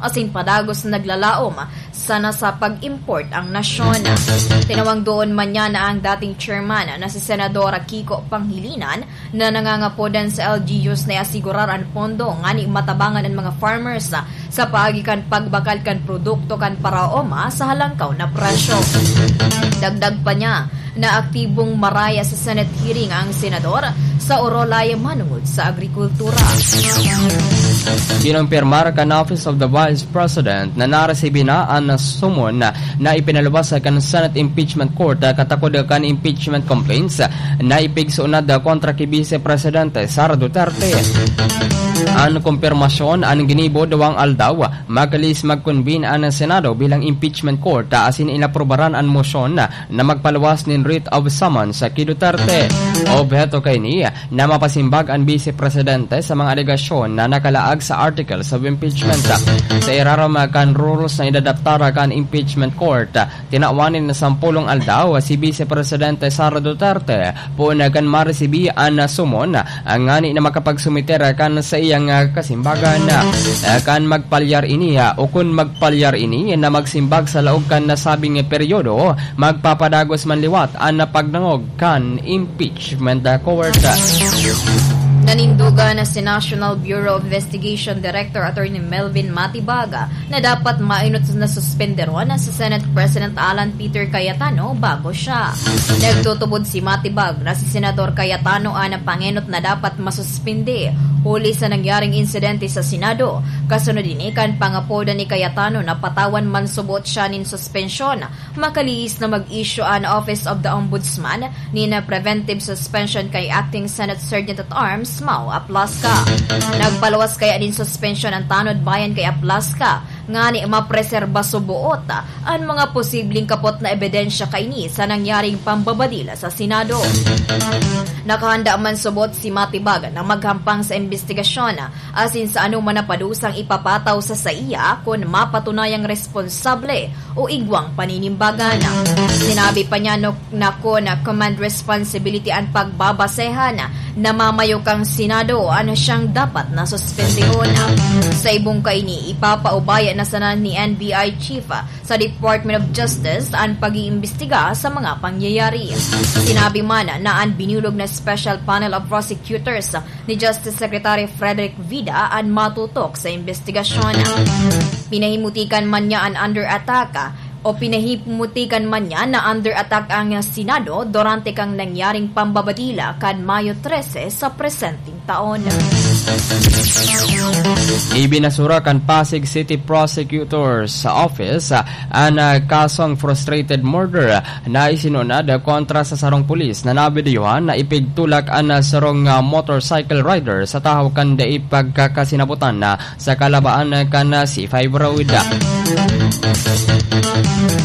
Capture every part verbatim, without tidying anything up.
asin padagos na naglalaom sana sa pag-import ang nasyon. Tinawang doon man niya na ang dating chairman na si Senador Kiko Pangilinan na nangangapodan sa L G Us na iasigurar an pondo ngani matabangan an mga farmers sa paagi kan pagbakal kan produkto kan paraoma sa halangkaw na presyo. Dagdag pa niya na aktibong maraya sa Senate hearing ang senador sa Orolay manungod sa agrikultura. Kinumpirmar kan Office of the Vice President na naresibi na an summon na ipinaluwas kan Senate Impeachment Court katakod kan impeachment complaints na ipigsuunad kontra ki Vice Presidente Sara Duterte. An kumpirmasyon an ginibo duwang aldaw, makalis mag-convene an Senado bilang impeachment court asin inaprubaran an mosyon na magpaluwas nin writ of summons ki Duterte. Obheto kaini na mapasimbag an Vice Presidente sa mga alegasyon na nakalaag sa articles of impeachment. Sa irarom kan rules na inadaptar kan impeachment court, tinawan nin sampolong aldaw si Vice Presidente Sara Duterte poon kan maresibi an summon ngani na makapagsumiter kan saiyang kasimbagan. Kan magpalyar ini o kun magpalyar ini na magsimbag sa laog kan nasabing peryodo, magpapadagos man liwat an pagdangog kan impeachment court. Nanindugan na si National Bureau of Investigation Director Attorney Melvin Matibag na dapat maenot na suspenderon si Senate President Alan Peter Cayetano bago siya. Nagtutubod si Matibag na si Senador Cayetano an pangenot na dapat masuspende huli sa nangyaring insidente sa Senado. Kasunod ini kan pangapodan ni Cayetano na patawan man subot siya nin suspensyon, makalihis na mag-issue an Office of the Ombudsman nin preventive suspension kay Acting Senate Sergeant at Arms Mau Aplasca. Nagpaluwas kaya nin suspensyon an tanod bayan kay Aplasca ngani mapreserba suboot an mga posibleng kapot na ebidensya kaini sa nangyaring pambabadil sa Senado. Nakahanda man subot si Matibag na maghampang sa imbestigasyon asin sa anoman na padusang ipapataw sa saiya kun mapatunayang responsable o igwang paninimbagan. Sinabi pa niya no, na kun command responsibility an pagbabasehan, namamayo kang Senado an siyang dapat na suspendehon. Sa ibong kaini, ipapaubaya na sana ni N B I Chief sa Department of Justice an pag-iimbestiga sa mga pangyayari. Sinabi man na an binulog na Special Panel of Prosecutors ni Justice Secretary Frederick Vida an matutok sa imbestigasyon. Pinahimutikan man niya an under attack o pinahimutikan man niya na under attack ang Senado durante kan nangyaring pambabadil kan Mayo trese sa presenteng taon. Ibinasura kan Pasig City Prosecutor's Office an, ah, kasong frustrated murder na isinunod kontra sa sarong pulis na nabidyohan na ipigtulak an, ah, sarong, ah, motorcycle rider sa tahaw kan dai pagkakasinabutan na sa kalabaan kan C five Road.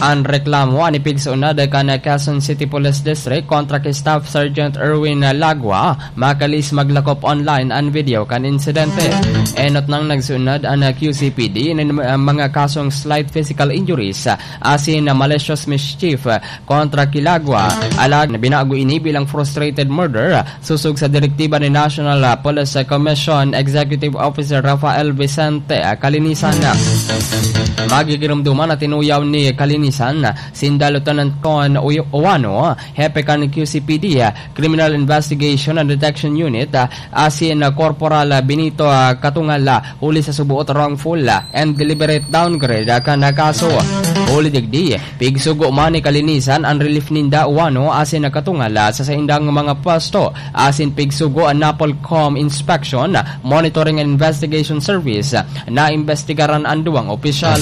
An reklamo an ipigsunod kan Quezon City Police District kontra ki Staff Sergeant Erwin Lagua, makalis maglakop online an video kan insidente. Enot nang nagsunod an Q C P D nin mga kasong slight physical injuries asin malicious mischief kontra ki Lagua. Alagad binago ini bilang frustrated murder sosog sa direktiba ni National, ah, Police Commission Executive Officer Rafael Vicente, ah, Calinisan. Magigiromdoman na tinuyaw ni Calinisan, sinda Lieutenant Con Uy-, Uwano, hepe kan Q C P D, ah, Criminal Investigation and Detection Unit, ah, asin, ah, Corporal, ah, Benito, ah, Katungal, ah, huli sa suboot wrongful, ah, and deliberate downgrade, ah, kan, ah, kaso. Huli digdi, pigsugo man ni Calinisan an relief ninda Uwano asin Katungal sa saindang mga pwesto, asin pigsugo an NAPOLCOM Inspection, Monitoring and Investigation Service na imbestigaran an duwang opisyal.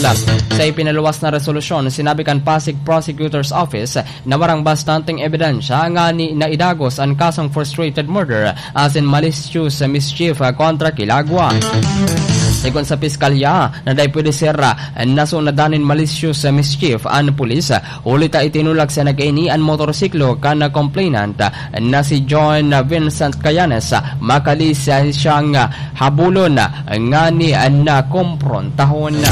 Sa ipinaluwas na resolusyon, sinabi kan Pasig Prosecutor's Office na warang bastanteng ebidensya ngani na idagos an kasong frustrated murder asin malicious mischief kontra ki Lagua. Sigon sa piskalya, na dai pwede ser, ah, nasunadan nin malicious, ah, mischief an pulis, ah, huli ta itinulak sana kaini an motorsiklo kan complainant, ah, na si John Vincent Cayanes, ah, makalis, ah, siyang, ah, habulon, ah, ngani, ah, na komprontahon.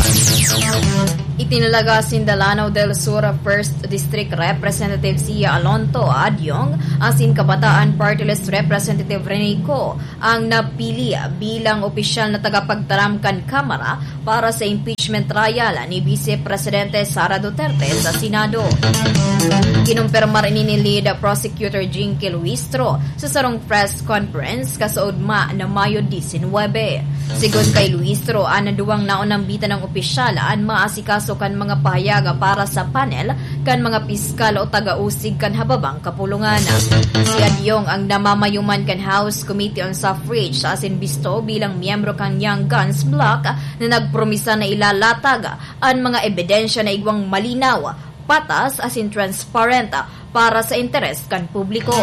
Itinalaga sinda Lanao del Sur First District Representative Sia Alonto Adyong asin Kabataan Party List Representative Rene Co ang napili bilang opisyal na tagapagtaram kan Kamara para sa impeachment trial ni Vice Presidente Sara Duterte sa Senado. Kinumpirmar ini ni Lead Prosecutor Jinky Luistro sa sarong press conference kasaudma na Mayo disinwebe. Sigon kay Luistro, an duwang naunang bitanang opisyal an maasikaso kan mga pahayag para sa panel kan mga piskal o taga-usig kan hababang kapulungan. Si Adyong ang namamayo man kan House Committee on Suffrage asin bisto bilang miyembro kan Young Guns Bloc na nagpromisa na ilalatag an mga ebidensya na igwang malinaw, patas asin transparent para sa interes kan publiko.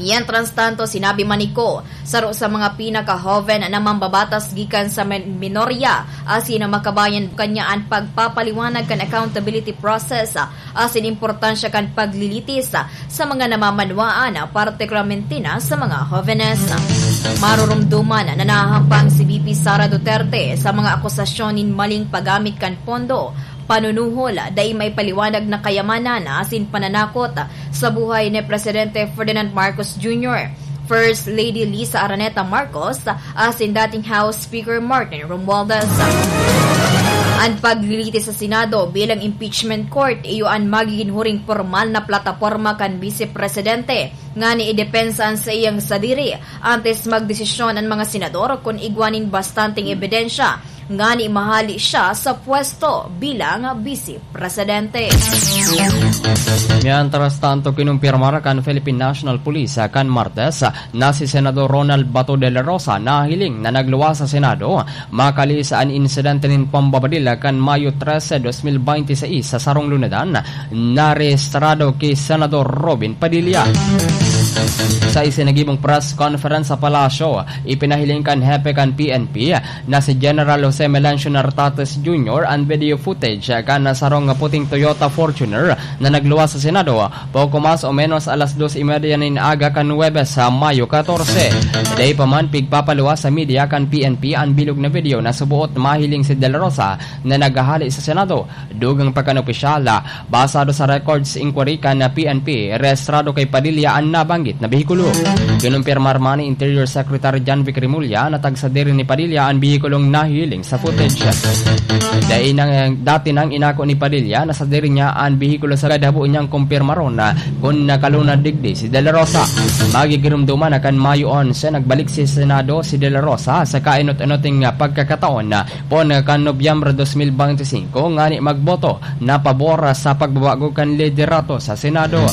Mientras tanto, sinabi man ni Co, saro sa mga pinakahoven na mambabatas gikan sa men-, minorya, asin na makabayan kanya an pagpapaliwanag kan accountability process, asin importansya kan paglilitis sa mga namamanwaan, partikularmente na sa mga hovenes. Marurumduman na nahahampang si V P Sara Duterte sa mga akusasyon nin maling paggamit kan pondo, panunuhol, dai maipaliwanag na kayamanan asin pananakot sa buhay ni Presidente Ferdinand Marcos Junior, First Lady Liza Araneta Marcos, asin dating House Speaker Martin Romualdez. An paglilitis sa Senado bilang impeachment court iyo an magigin huring pormal na plataporma kan Bise Presidente ngani idepensa an saiyang sadiri antes magdesisyon an mga senador kun igwa nin bastanteng ebidensya ngani mahali siya sa pwesto bilang Bise Presidente. Mientras tanto, kinumpirmar kan Philippine National Police kan Martes na si Senador Ronald Bato de la Rosa nahiling na nagluwas sa Senado makali sa an insidente nin pambabadil kan Mayo trese, dos mil bente seis sa sarong lunadan na rehistrado ki Senador Robin Padilla. Sa isinagibong press conference sa Palasyo, ipinahiling kan hepe kan P N P na si General Jose Melancio Nartates Junior an video footage kan sarong puting Toyota Fortuner na nagluwas sa Senado, poko mas o menos alas dos y media nin aga kan Huwebes, sa Mayo katorse. Dai pa man pigpapaluwas sa media kan P N P an bilog na video na suboot mahiling si De La Rosa na naghahali sa Senado. Dugang pa kan opisyal, basado sa records inquiry kan P N P, rehistrado kay Padilla an nabanggit na behikulo. Kinumpirmar man ni Interior Secretary John Vic Remulla na tagsadiri ni Padilla an behikulong nahiling sa footage. Dai nang, dati nang inako ni Padilla na sadiri niya an behikulo, sagad habo niyang kumpirmaron kun nakalunad digdi si De La Rosa. Magigiromdoman na kan Mayo onse, nagbalik si Senado si De La Rosa sa kainot-inoting pagkakataon, poon kan Nobyembre dos mil bente singko ngani magboto na pabor sa pagbabago kan liderato sa Senado.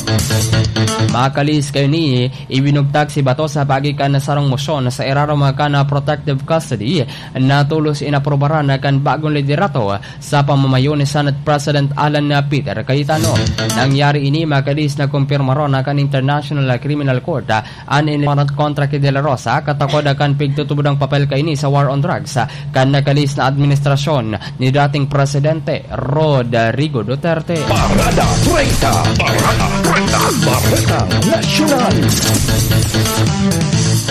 Makalihis kaini, ibinugtak si Bato sa paagi kan sarong mosyon sa irarom kan protective custody na tolos inaprobaran kan bagong liderato sa pamamayo ni Senate President Alan Peter Cayetano. Nangyari ini makalihis na kumpirmaron na kan International Criminal Court an warrant kontra ki De La Rosa, katakod kan pigtutubod ang papel kaini sa war on drugs kan nakalihis na administrasyon ni dating Presidente Rodrigo Duterte. Parada treinta. Parada treinta. Bareta Nasyonal.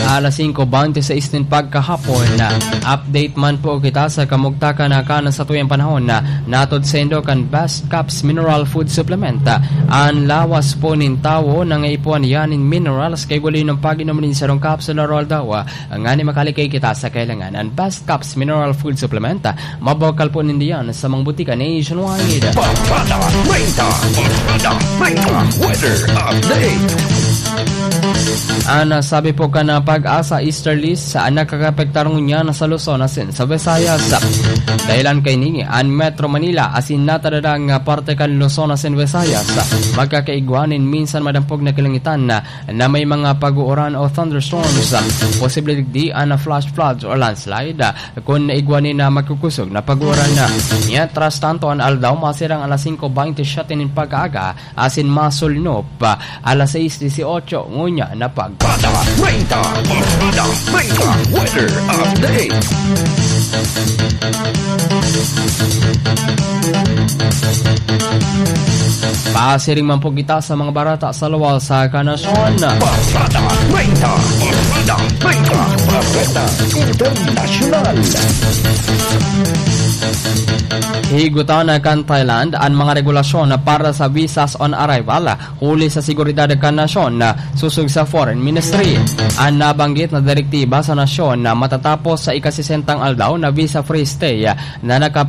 Alas singko bente seis nin pagkahapon. Update man po kita sa kamugtakan na kan satuyang panahon. Natod saindo kan Best Caps Mineral Food Supplement. An lawas po nin tawo nangaipuhan yan nin minerals, kay wali ng pag-inom nin sarong capsule aroaldaw. Ngani makalikay kita sa kailangan. An Best Caps Mineral Food Supplement, mabakal po nindiyan sa mga butika nationwide. Parada treinta. Parada treinta. Weather update. An, ah, sabi po kan, ah, PAGASA Easterlies, ah, nakakapektar ngunyan sa Luzon asin sa Visayas. Dahilan kaini, an Metro Manila asin natadadang, ah, parte kan Luzon asin Visayas, ah, magkakaigwa nin minsan madampog na kalangitan na, na may mga pag-uuran o thunderstorms. Posible digdi an flash floods or landslide, ah, kun igwa nin na magkukusog na pag-uuran na. Mientras tanto, an aldaw masirang alas singko bente siyete nin pag-aaga, asin masulnop, ah, alas sais dieciocho ngunyan na pag- Parada treinta, Parada treinta, weather update. Pasiring man po kita sa mga barata sa luwas sa kanasyon. Parada treinta, Parada treinta, Bareta Internasyonal. Higutan kan Thailand an mga regulasyon para sa visas on arrival, huli sa seguridad kan nasyon, susog sa Foreign Ministry. An nabanggit na direktiba sa nasyon na matatapos sa ikasisentang aldaw na visa-free stay na naka